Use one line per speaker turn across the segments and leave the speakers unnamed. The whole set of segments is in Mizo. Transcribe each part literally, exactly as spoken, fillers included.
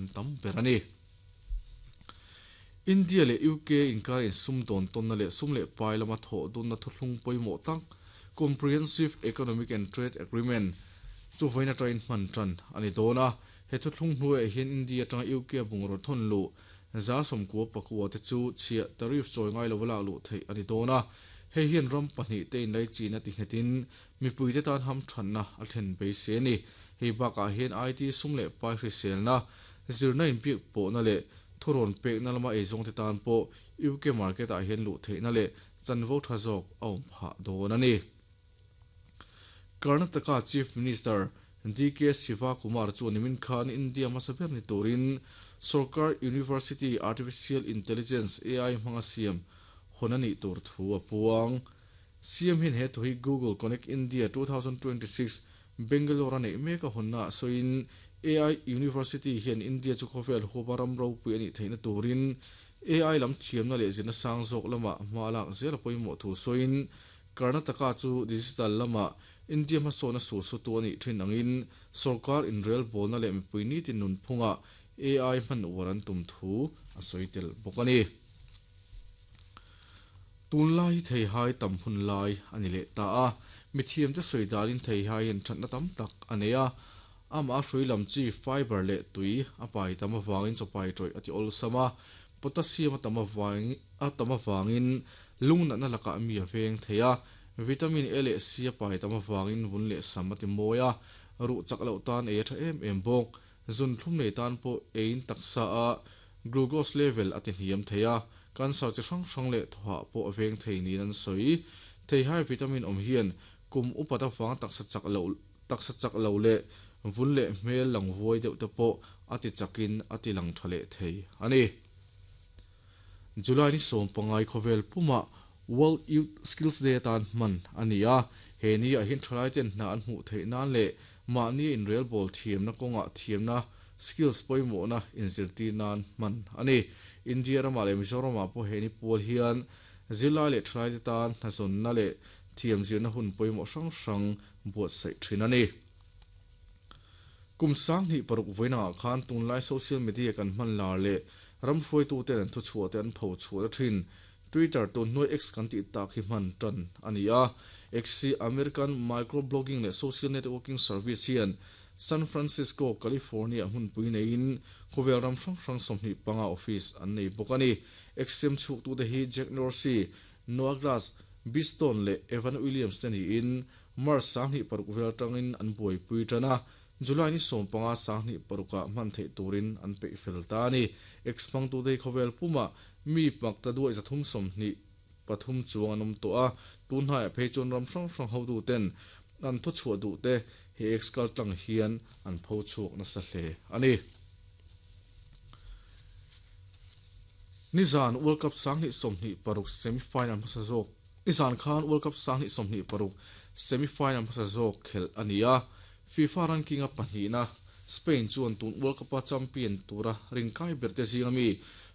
an tam ber ani. India le U K inkar in sum don ton na le sum le pai lama tho dun na thuthlung poimo tak Comprehensive Economic and Trade Agreement chu voina train man tran ani dona he thuthlung hnuai hian India tang U K bungro thon lu za som ko pakua te chu chia tariff choi ngai lo la lu thei ani dona he hian ram pahnih te in lai china ti hetin mipui te tan ham thanna a then be se ni hei baka hian I T sum le pai hrisel na zirna in pik po na le thuron pek na lama eizong te tan po U K market a hian lu thei na le chanvo tha zawk a awm phah dawn ani. Karnataka Chief Minister D K Siva Kumar chu nimin khan India masaber ni turin Sarkar University Artificial Intelligence A I hmanga siam honani tur thu a puang. C M hin he thu hi Google Connect India twenty twenty-six Bangalore nei meka honna soin A I University hian India chu khawvel hubaram ro pui ani theina turin A I lam thiamna leh zirna sang zawk lama hma lak zel pawimawh thu soin Karnataka chu digital lama India hmasawna su su tu ani thin angin sarkar inrel bawlna leh mipui ni tin nun phunga A I hman uar an tum thu a sawi tel bawk ani. Tunlai thei hai tam hun lai ani leh ta a mithiam te sawi dalin thei hai an thatna tam tak ani a ama hrui lam chi fiber leh tui a pai tam awangin chawpai tawih ati awlsama potassium a tam awangin a tam awangin lungna na laka mi a veng thei a vitamin A leh C a pai tam awangin vun leh sam ati mawi a ru chak lo tan e tha em em bawk zun thlum nei tan pawh ein taksa a glucose level ati hniam thei a cancer chi hrang hrang leh thawha pawh a veng thei niin an sawi thei hai vitamin awm hian kum upat awang taksa chak lo taksa chak lo leh vun leh hmel lang vuai deuh te pawh ati chakin ati lang tha leh thei ani. July ni sawm pangai khawvel puma World Youth Skills Day tan man ani a he ni a hin thalai ten hna an hmuh theih nan leh mahni in rel ball thiamna kawnga thiamna skills pawimawh na inzirtir nan man ani. India rama leh Mizoram ah pawh he ni pawl hian zirlai leh thalai te tan hnazawnna leh thiam zirna hun pawimawh hrang hrang buatsaih thin ani. Kum sang hnih paruk vawiin ah khan tunlai social media kan hman lar leh ram hruaitu ten an thu chhuah te an pho chhuah na thin Twitter tun hnuai X kan tih tak hi hman tan ani a. X hi American microblogging leh social networking service hian San Francisco, California hmunpui neiin khawvel ram hrang hrang sawmhnih panga office an nei bawk ani. X sem chhuk tu te hi Jack Dorsey, Noah Glass, Biston leh Evan Williams te niin March sang hnih paruk vel tangin an buaipui tan a July ni sawm panga sang hnih paruka hman theih turin an peih fel ta ani. X hmang tu te khawvel puma mi pak ta duai zathum sawmhnih pathum chuang an awm tawh a tun hnaiah phei chuan ram hrang hrang ho tu ten an thaw chhuah duh te he X kal tlang hian an pho chhuak nasa hle ani. Nizan World Cup sang hnih sawmhnih paruk semi-final hmasa zawk Nizan khan World Cup sang hnih sawmhnih paruk semi-final hmasa zawk khel ani a FIFA ranking a pahnih na Spain chuan tun World Cup a champion tura rinkai ber te zinga mi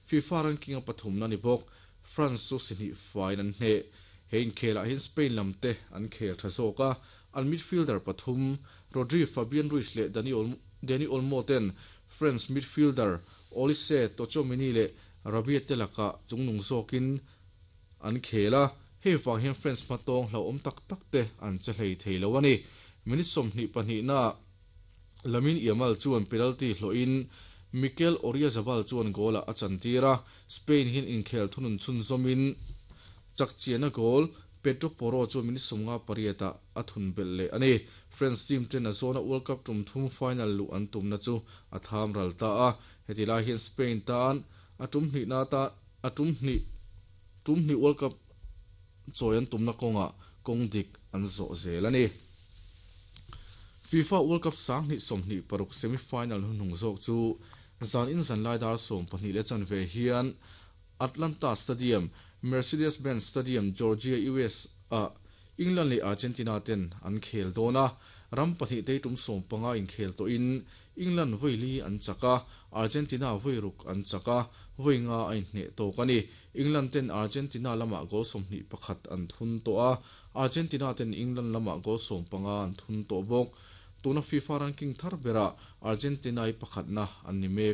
FIFA ranking a pathum na ni bawk France chu sihnih fain an hne hein khelah hian Spain lam te an khel tha zawk a an midfielder pathum Rodri, Fabian Ruiz leh Dani Olmo Dani Olmo ten France midfielder Olise Tchouameni leh Rabiot te laka chungnung zawkin an khel a hei wang hian France hmatawng hlo awm tak tak te an che hlei thei lo ani. Minute sawmhnih pahnih na Lamine Yamal chuan penalty hlawhin Mikel Oyarzabal chuan goal a chantir a Spain hin inkhel thunun chhun zawmin chakchiana goal Pedro Porro chu minute sawmnga pariat a thun bel leh ani. France team ten a zawna World Cup tum thum final lu an tumna chu a tham ral ta a heti lai hian Spain tan a tum hnih na ta a tum hnih tum hnih World Cup chawi an tumna kawnga kawng dik an zawh zel ani. FIFA World Cup sang hnih sawmhnih paruk semi-final hunhung zawk chu zan in zan lai dar sawm pahnih leh chan ve hian Atlanta Stadium, Mercedes-Benz Stadium, Georgia, U S a England leh Argentina ten an khel dawn a ram pahnih te tum sawm panga in khel tawhin England vawi an chaka Argentina vawi ruk an chaka vawi nga a inhneh tawk ani. England ten Argentina lama goal sawmhnih pakhat an thun tawh a Argentina ten England lama goal sawm panga an thun tawh bawk tuna FIFA ranking thar bera Argentina i pakhat na an ni mek a.